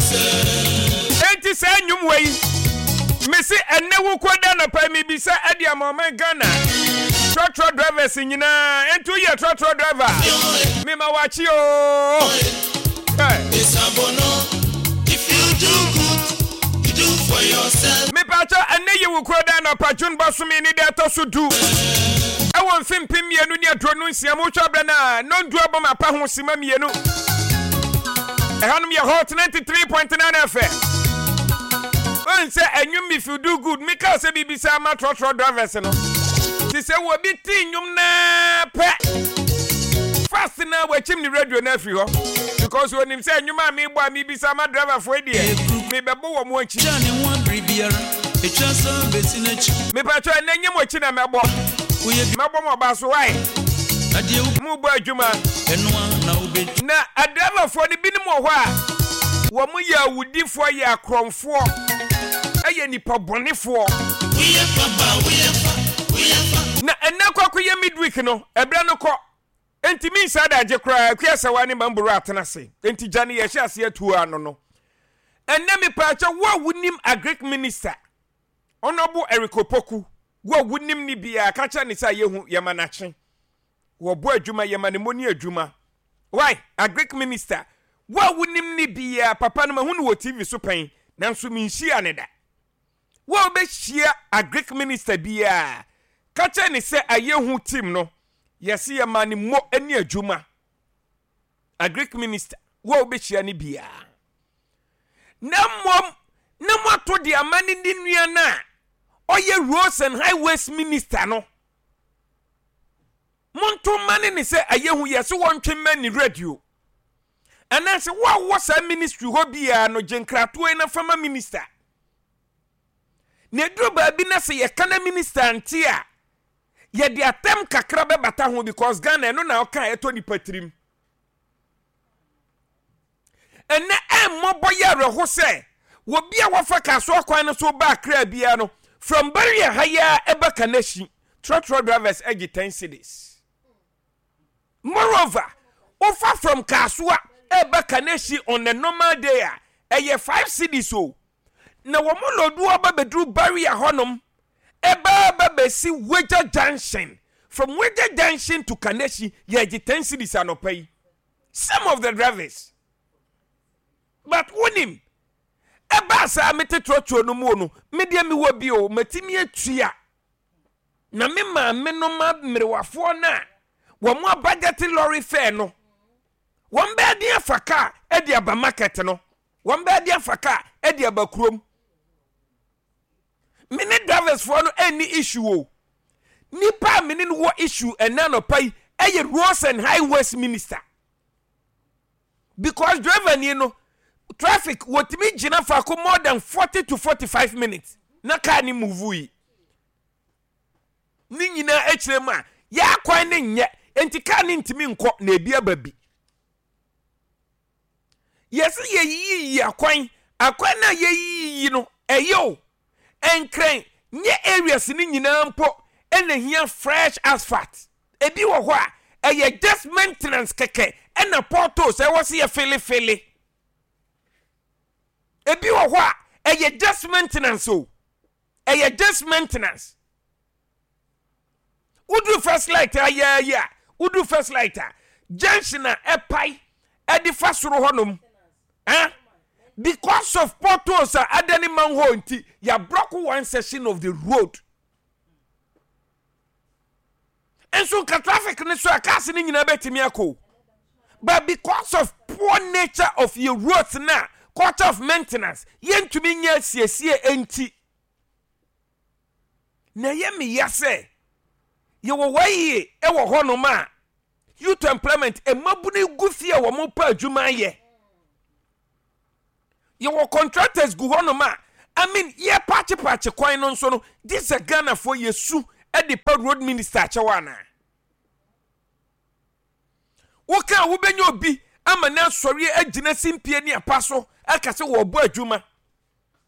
Enti saa nnwom wei, mese ɛnnɛ Wukuada anɔpa yi mebisa adi ama ɔman Ghana trɔtrɔ drivers nyinaa. Enti woyɛ trɔtrɔ driver a, mema wakye oo. Hey. Mepatɔ ɛnnɛ yɛ Wukuada anɔpa June bɔsome ne da ɛtɔ so du ɛwɔ mfe 2026 mu. Wohwɛ berɛ no a, nnɔndu abɔ mapa ho sima mmienu. Ɛhanom yɛ Hot 93.9 FM. Wohu sɛ ɛnwom If You Do Good, mekaa sɛ biribi saa ma trɔtrɔ drivers no. Te sɛ wɔbi te nnwom naa pɛ. Fast na wakyim ne radio no afiri hɔ. Because wɔnim sɛ nnwom a mebɔ a mebisa ma driverfoɔ yi deɛ, mebɛbɔ wɔn akyi. Mepatwɔ ɛnɛ nyɛ mo akyi na mɛbɔ. Mɛbɔ mo ɔba so why? Mobɔ adwuma. Na adriverfoɔ no binom wɔ hɔ a wɔn yɛ awudifoɔ, yɛ akorɔmfoɔ, yɛ nipa bɔnefoɔ. Na ɛnɛ kɔ akɔyɛ midweek no, ɛberɛ no kɔ. Enti mensa adagye koraa, Akua Asawa ne Mamboro atena ase. Enti gya no yɛhyɛ aseɛ atuo ano no. Ɛnɛ mepaakyɛ wo a wonim agric minister, Honourable Eric Opoku, wo a wonim ne biara, ka kyerɛ ne sɛ yɛhu yɛma n'akye. Wɔbɔ adwuma, yɛma ne mɔni adwuma. Why? Agric minister, wo a wonim ne biara, papa no mahu no wɔ TV so pɛn, nanso menhyia ne da. Wo a wobɛhyia agric minister biara, ka kyerɛ ne sɛ ayɛhu team no, yɛse yɛma ne mmɔ ne adwuma. Agric minister, wo a wobɛhyia ne biara. Na mmom, na moato de ama ne ne nua no a ɔyɛ roads and highways minister no. Monto mma ne ne sɛ ayɛhu yɛ sɛ wɔntwe mma ne radio. Anaasɛ wo a wowɔ saa ministry hɔ biara no gye nkratoɔ yi na fa ma minister. Na ɛduru baabi na sɛ yɛka na minister nte a, yɛde atɛm kakra bɛbata ho because Ghana ɛno na ɔka a ɛtɔ nipa tirim. Ɛnnɛ ɛmmɔbɔ yɛ awerɛho sɛ obi a wafa Kasoa kwan no so ba Accra biara no, from Barrier ha yi ara ɛba Kaneshie, trɔtrɔ drivers gye 10 cedis. Moreover, wofa from Kasoa ɛba Kaneshie on a normal day a, ɛyɛ 5 cedis o. Na wɔn lodu aba bɛduru Barrier hɔnom, ɛba aba bɛsi Weja Junction. From Weja Junction to Kaneshie, yɛgye 10 cedis anɔpa yi. Some of the drivers. But wonim, ɛbaa saa mete trɔtrɔ no mu no, me deɛ mewɔ bi o, matumi atua. Na me maame no ma mmerewafoɔ no a wɔn abadjɛte lorry fare no, wɔn bɛyɛ den afa kaa de aba market no, wɔn bɛyɛ den afa kaa de aba kurom. Me ne drivers foɔ no ɛnni issue o. Nipa a me ne no wɔ issue ɛnɛ anɔpa yi ɛyɛ roads and highways minister. Because driver ni no traffic wɔtumi gyina faako more than 40 to 45 minutes na car ni move yi. Ne nyinaa akyerɛ mu a yɛ akwan ne nyɛ nti car ne ntumi nkɔ na ebi aba bi. Yɛse yɛyiyiyi akwan, akwan no a yɛyiyiyi no ɛyɛ o, Nkran nyɛ areas no nyinaa mpo na ɛhia fresh asphalt. Ebi wɔ hɔ a ɛyɛ just maintenance kɛkɛ ɛna potholes ɛwɔ sɛ yɛfele fele. Ebi wɔ hɔ a ɛyɛ just maintenance o, ɛyɛ just maintenance. Woduru first light ayɛɛyɛ a, woduru first light a, junction a ɛpae ɛde fa soro hɔnom, eh? Because of potholes a adane manhole nti, yɛabrɔko one section of the road. Nso nka traffic ne so a cars ne nyinaa bɛtumi akɔ. But because of poor nature of your roads na culture of maintenance, yɛntumi nyɛ asiesie nti. Na ɛyɛ me ya sɛ yɛwɔ YEA wɔ hɔnom a youth employment mmabunu gu fie a wɔn pɛ adwuma ayɛ. Yɛwɔ contractors gu hɔnom a I mean yɛ paakye kwan no nso no gye sɛ Ghanafoɔ yɛsu de pa road minister akyɛw anaa. Woka a wobɛnya obi ama no asɔre agyina simpie ne apa so aka sɛ wɔrebɔ adwuma.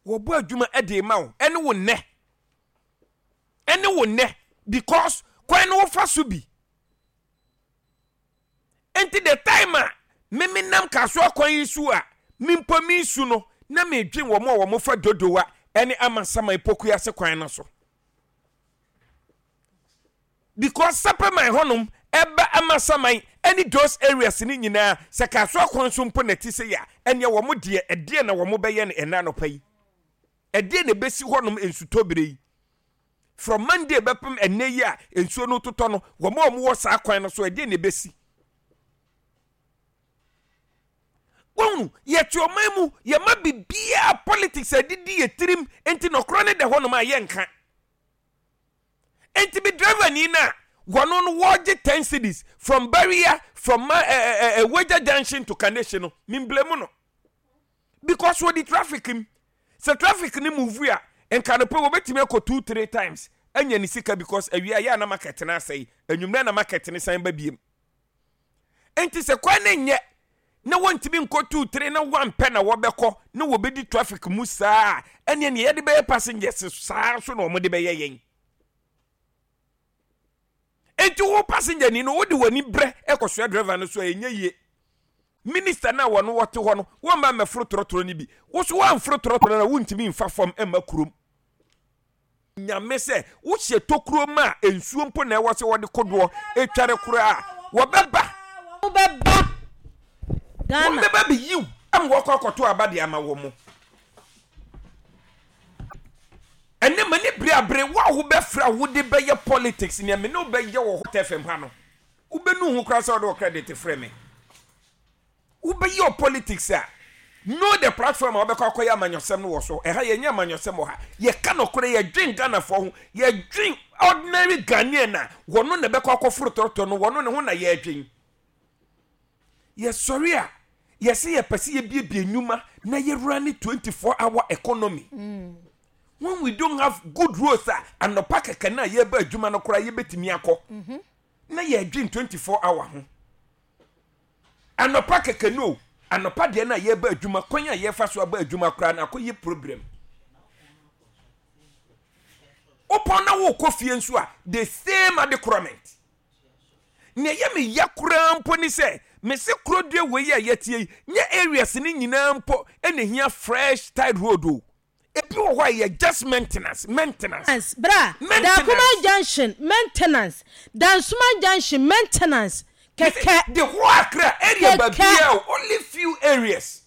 Wɔbɔ adwuma de ma wo ɛne wo nnɛ. Ɛne wo nnɛ because kwan no wofa so bi. Nti the time a meme nam Kasoa kwan yi so a Me mpo meresu no, na meredwen wɔn a wɔfa Dodowa ne Amasaman Pokuase kwan no so. Because Sapeman hɔnom ɛba Amasaman ne those areas no nyinaa, sɛ Kasoa kwan so mpo na ɛte sei a, ɛneɛ wɔn deɛ, ɛdeɛn na wɔn bɛyɛ no ɛnnɛ anɔpa yi? Ɛdeɛn na ɛbɛsi hɔnom nsutɔ berɛ yi? From Monday bɛpem ɛnnɛ yi a nsuo no totɔ no, wɔn a wɔwɔ saa kwan no so, ɛdeɛn na ɛbɛsi? Wohunu, yɛte ɔman mu, yɛma biribiara politics adidi yɛ tirim, nti nɔkorɔ no da hɔnom a yɛnka. Nti me driver ni no a, wɔno no wɔgye 10 cedis from barrier from ma eh, eh, eh, Weja junction to Kaneshie no, me blame no. Because wɔdi traffic mu. Sɛ traffic no move a, nka no pɛ wɔbɛtumi akɔ 2 3 times anya ne sika because awia yɛ a na market no asɛe, anwummerɛ na market no san ba biem. Enti sɛ kwan no nyɛ na wɔntumi nkɔ tuutere na wɔampɛ na wɔbɛkɔ na wɔbɛdi traffic mu saa a, ɛneɛ neɛ yɛde bɛyɛ passengers saa nso na wɔde bɛyɛ yɛn. Enti wo passenger ni no wode w'ani brɛ kɔsoa driver no so a ɛnyɛ yie. Minister no a wɔno wɔte hɔ no wɔmma mmɛforo trɔtrɔ no bi. Wo so woamforo trɔtrɔ no a wontumi mfa fam mma kurom. Nyame sɛ wohyɛ tokuro ma a nsuo mpo na ɛwɔ sɛ wɔde kodoɔ tware koraa a, wɔbɛba. Wɔbɛba Ghana. Wɔbɛba bɛyiw ama wɔakɔ akɔto aba de ama wɔn. Ɛnɛ m'ani bere abere wo a wobɛfrɛ a wode bɛyɛ politics nea me ne wo bɛyɛ wɔ Hot FM ha no, wobɛnu ho koraa sɛ wode wo credit frɛ me. Wobɛyɛ wo politics a, know the platform a wobɛkɔ akɔyɛ amanyɔsɛm no wɔ so. Ɛha yɛnyɛ amanyɔsɛm wɔ ha. Yɛka nɔkorɛ, yɛdwen Ghanafoɔ ho, yɛdwen ordinary Ghanaian a wɔno na ɛbɛkɔ akɔforo trɔtrɔ no, wɔno ne ho na yɛdwen. Yɛsɔre a, yɛse yɛpɛ sɛ yɛbiebie nnwuma na yɛrane 24 hour economy. When we don't have good roads a, anɔpa kɛkɛ no a yɛba adwuma no koraa yɛbɛtumi akɔ. Na yɛdwen 24 hour ho. Anɔpa kɛkɛ no o, anɔpa deɛ no a yɛreba adwuma, kwan a yɛfa so aba adwuma koraa no akɔyɛ problem. Wopɔn na wokɔ fie nso a, the same adekorɔment. Nea ɛyɛ me ya koraa mpo ne sɛ, mese kurodua wei a yɛteɛ yi, nyɛ areas no nyinaa mpo na ɛhia fresh tide road o. Ebi wɔ hɔ a ɛyɛ just maintenance, maintenance. Bra, Maintenance. Dakuman junction, maintenance. Dansoman junction, maintenance. Kɛkɛ. The whole Accra area Kɛkɛ. baabiara o, only few areas.